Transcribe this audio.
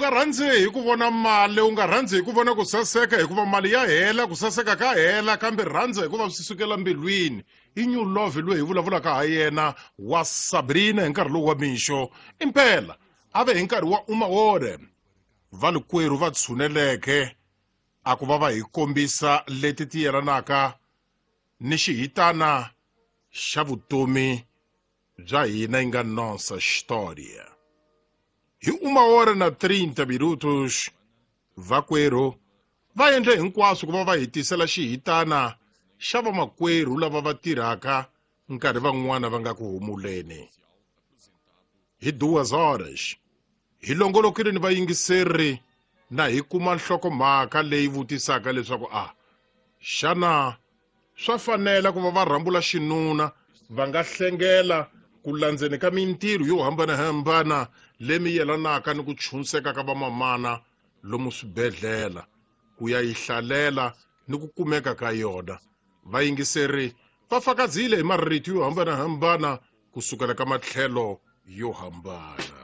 Nga rhandzi hi ku vona mali, u nga rhandzi hi ku vona ku saseka, hikuva mali ya hela, ku saseka ka hela, kambe rhandza hikuva swi sukela mbilwini. I New Love loyi hi vulavulaka ha yena wa Sabrina hi nkarhi lowu wa mixo. Impela a ve hi nkarhi wa Umawore valikwerhu va tshuneleke a ku va va hi kombisa leti ti yelanaka ni xihitana xa vutomi bya hina yi nga nossa história. Hi uma hora na 30 minutos vakwerhu va endle hinkwaswo ku va va hi tisela xihitana xa vamakwerhu lava va tirhaka nkarhi van'wana va nga ku humuleni. Hi duas horas hi longolokile ni vayingiseri na hi kuma nhlokomhaka leyi vutisaka leswaku a xana swa fanela ku va va rhambula xinuna va nga hlengela ku landzeni ka mintirho yo hambanahambana lemi yelanaka ni ku chunseka ka vamamana lomu swibedhlele ku ya yi hlalela ni ku kumeka ka yona. Vayingiseri va fakazile hi marito yo hambanahambana kusukela ka matlhelo yo hambana.